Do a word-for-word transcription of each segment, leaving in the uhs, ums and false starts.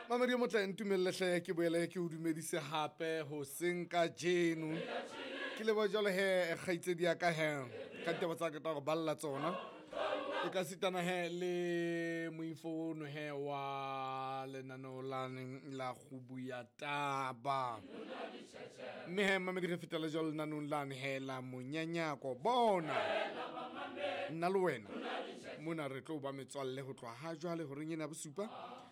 Mamedi o motle, ntumelle hle ke boele ke o dumedise hape hoseng kajeno. Ke leboha jwalo he kgaitsedi ya ka he ka ditaba tsa ka tsa go balla tsona. E ka sitana he le moifo ono he wa lenaneo lane la kgubu ya taba. Mme he mamedi re fetela jwalo lenaneong lane he la monyanyako. Bona nna le wena mona re tlo ba metswalle ho tloha ha jwale horeng ena ya bosupa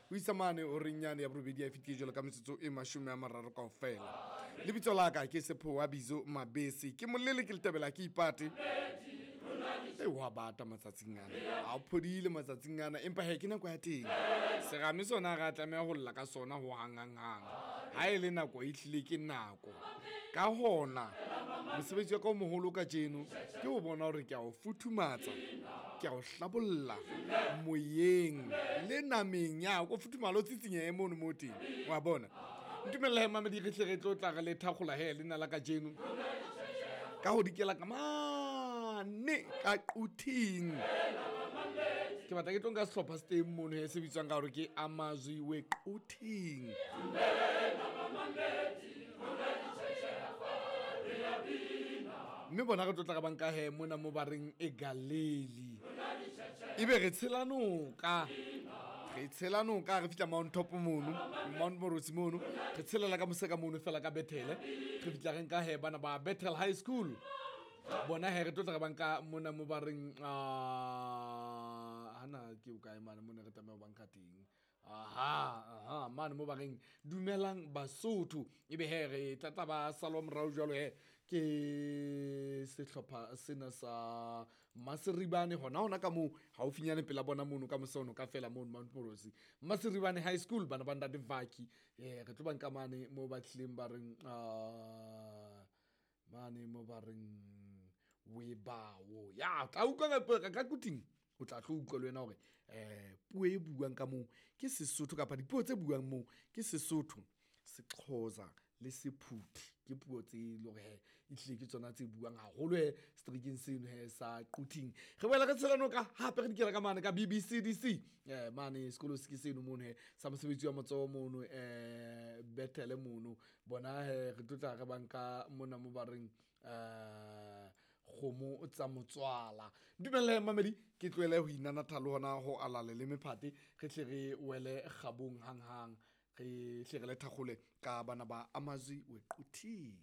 ho isa mane horeng yane ya borobedi ya fetile jwalo ka metsotso e mashome a mararo kaofela. Lebitso la ka ke Sephowa Bizo Mabese, ke molele ke letebela ke ipate. E wa bata matsatsing ana, ha o phodile matsatsing ana, empa he ke nako ya teng. Serame sona ha re a tlameha ho lla ka sona ho hang hang hang. Ha e le nako e hlile ke nako. Ka hona mosebetsi wa ka o moholo kajeno ke ho bona hore ke a o futhumatsa, ke a o hlabolla moyeng le nameng ya o futhumala o tsitsinyehe mono mo teng, wa bona. Ntumella he mamedi re hle re tlo tla re le thakgola he lena la kajeno ka ho dikela ka mane ka Quthing. Ke batla ke tlo nka sehlopha se teng mono he se bitswang ka hore ke Amazwi we Quthing. Mme bona re tlo tla re banka he mona mo ba reng e Galeli. Ebe re tshela noka. Re tshela noka re fihla Mount Top mono, Mount Morosi mono. Re tshelela ka mose ka mono fela ka Bethele. Re fihla re nka he bana ba Bethel High School. Bona he re tlo tla re banka mona mo ba reng ah hana ke o kae mane mona re tlameha ho banka teng. Aha, aha, mane mo ba reng dumelang Basotho. Ebe he re tla tla ba salwa morao jwalo he ke sehlopha sena sa Maseribane hona hona ka moo haufinyane pela bona mono ka mose ono ka fela mono Mount Morosi. Maseribane High School bana ba ntate Vaki. Eh re tlo ba nka mane mo ba tlileng ba reng ah mane mo ba reng Webawo. Ya tla utlwa ka ka Quthing. O tla tlo utlwa le wena hore eh puo e buang ka moo ke Sesotho kapa dipuo tse buang moo ke Sesotho, Sexhosa le Sephuthi. Ke puo tse e leng hore he ehlile ke tsona tse buang haholo he seterekeng seno he sa Quthing. Re boela re tshela noka hape re dikela ka mane ka B B C D C. Eh mane sekolo se ke seno mono he sa mosebetsi wa matsoho mono eh Bethele mono. Bona he re tlo tla re banka mona mo ba reng eh kgomo tsa motswala. Dumella mamedi ke tlohele ho inanatha le hona ho alale le mephate re tle re wele kgabong hang hang re hle re le thakgole ka bana ba Amazwi we Quthing.